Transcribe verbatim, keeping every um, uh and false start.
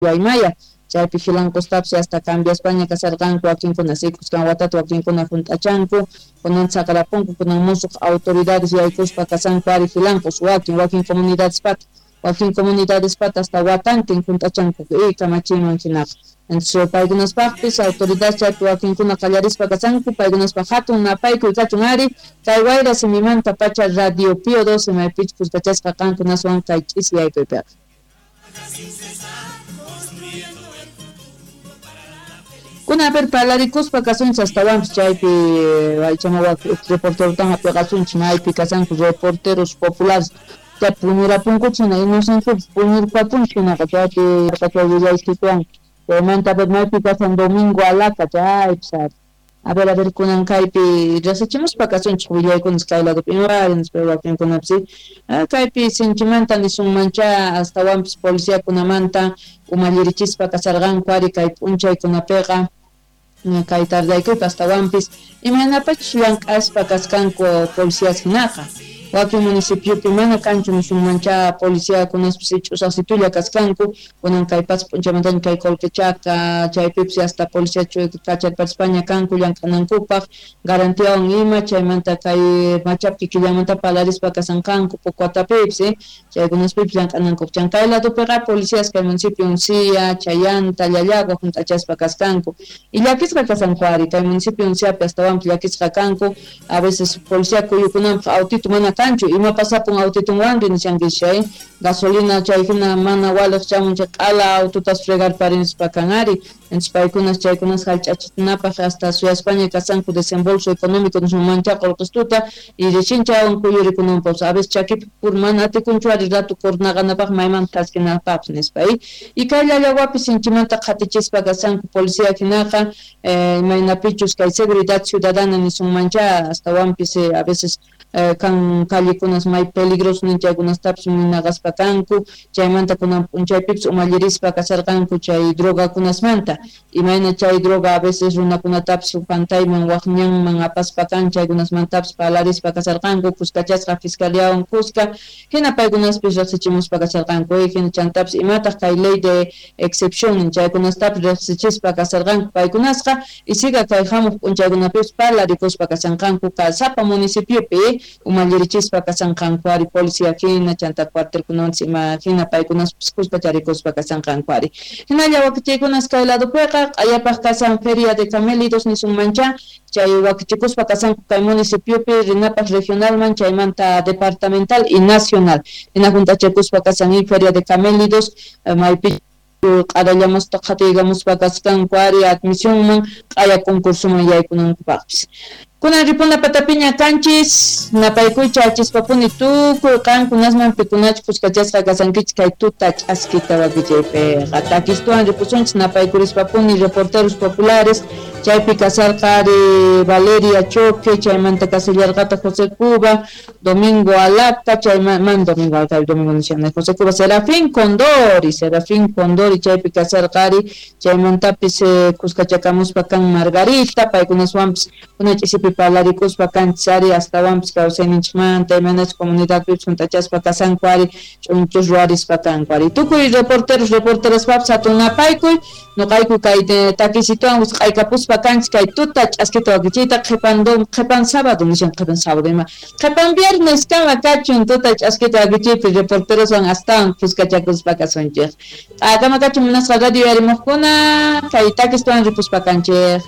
Guaymaya chaypi Jilancostapis hasta cambiaspaña kasarqanku wakinkuna sikusqan watata wakinkuna hunt'achanku kunan saqrapunku kunan musuq autoridades yaykuspa kasanku ari Jilancos wakin wakin comunidadespata wakin comunidadespata hasta watantin hunt'achanku y kamachiman hinaqa. Entonces paykunaspaqpis autoridades chaypi wakinkuna qallarispa kasanku paykunaspaq hatun napaykuy kachun ari kay wayra simimanta pacha Radio Pío doce maypichus kuskachasqa qankunaswan kay ch'isiyaykuypiqa. Kuna a ver parlarikuspa kasunchis astawanpis chaypi aychama reporterotan hap'iqasunchis maypi kasanku reporteros populares chay puñurapunkuchis hina inocenciapis puñurpapunchis hinaqa chaypi chay willaysikwan chaymanta a ver maypi kasan Domingo Alaca chaypis ari a ver a ver kunan kaypi riqsichimuspa kasunchis willaykunas kay ladopi imari nispa wakinkunapis kaypi sinchimanta nisunmancha astawanpis policiakunamanta umallirichispa kasarqanku ari kay p'unchaykunapiqa kay tardaykuypi astawanpis imaynapachus llank'aspa kasqanku policías hinaqa wakin municipiopi mana kanchu nisunmancha policiakunaspis ch'usaqsitulla kasqanku kunan kay pacha p'unchaymantaña kay Colquechaca chaypipis hasta policía kacharparispaña kanku llank'anankupaq garantiawan ima chaymanta kay Machapki killamanta palarispa kasanqanku Pocuatapipis chaykunaspipis llank'anankupaq chan kay ladopiqa policías kay municipio Uncía, Chayanta, Llallagua hunt'achaspa kasqanku y llakisqa kasanku ari kay municipio Unciapi astawanpis llakisqa kanku a veces policía kuyukunanpaq autito mana kanchu ima pasapun autitunwanri nishankish chay gasolina chay hina mana waliq chamun chay q'ala autotas fregarparinispa kan ari entonces paykunas chaykunas hallch'achinapaq hasta suyaspaña kasanku desembolso económico nisunmancha qullqistuta y recién chaywan kuyurikunanpaq a veces chakipi pur mana atikunchu ari rato kurnaqanapaq maymanta thaskinapaqpis nispa y kay Llallawapi sinchimanta qhatichispa kasanku policía hinaqa imaynapichus kay seguridad ciudadana nisunmancha astawanpis a veces kan callekunas may peligroso nin chaykunastapis munaqaspa kanku chaymanta kunan p'unchaypipis umallirispa kasarqanku chay drogakunasmanta imayna chay droga a veces runakunatapis pantayman waq ñanman apaspa kan chaykunasmantapis parlarispa kasarqanku kuskachasqa fiscaliawan kuska hina paykunaspis riqsichimuspa kasarqanku hina chantapis imataq kay ley de excepción nin chaykunastapis riqsichispa kasarqanku paykunasqa y siga kay hamuq p'unchaykunapipis parlarikuspa kasanqanku sapa municipiopi umallirichispa kasanqanku ari policía hina chanta cuartelkunawanchis ima hina paykunaspis kuskacharikuspa kasanqanku ari hinalla wakichaykunas kay ladopiqa q'ayapaq kasan feria de camélidos nisunmancha chay wakichikuspa kasanku kay municipiopi rinapaq regionalman chaymanta departamental y nacional hina juntachakuspa kasan y feria de camélidos maypi q'arallamusta qhatiykamuspa kasqanku ari admisionman q'aya concursoman yaykunankupaqpis kunan ripuna patapiña kanchis napaykuycha achispapuni tukuy qankunasman pikunachu kuskachasqa kasankichis kay tuta ch'askita wakichaypiqa takistuwan ripusunchis napaykurishpapuni reporteros populares chaypi kasarqa ari Valeria Choque chaymanta kasillarqata José Cuba Domingo Alaca chayman Domingo Alaca Domingo nishana José Cuba Serafín Condori Serafín Condori chaypi kasarqa ari chaymantapis kuskachakamuspa kan Margarita paykunaswanpis kuna ch'isipi parlarikuspa kanchis ari astawanpis kawsayninchikmanta imaynachus comunidadpipis hunt'achaspa kasanku ari ch'unchus ruwarispa kanku ari tukuy reporteros reporteraspapis hatun napaykuy nuqayku kay takisituwan wisq'aykapuspa kanchis kay tuta ch'askita wakichiyta qhipan qhipan sábado nishan qhipan sábado ima qhipan viernes kama kachun tuta ch'askita wakichiypi reporteroswan astawan kuskachakuspa kasunchik q'akama kachun munasqa radio yarimuqkuna kay takistuwan ripuspa kanchik.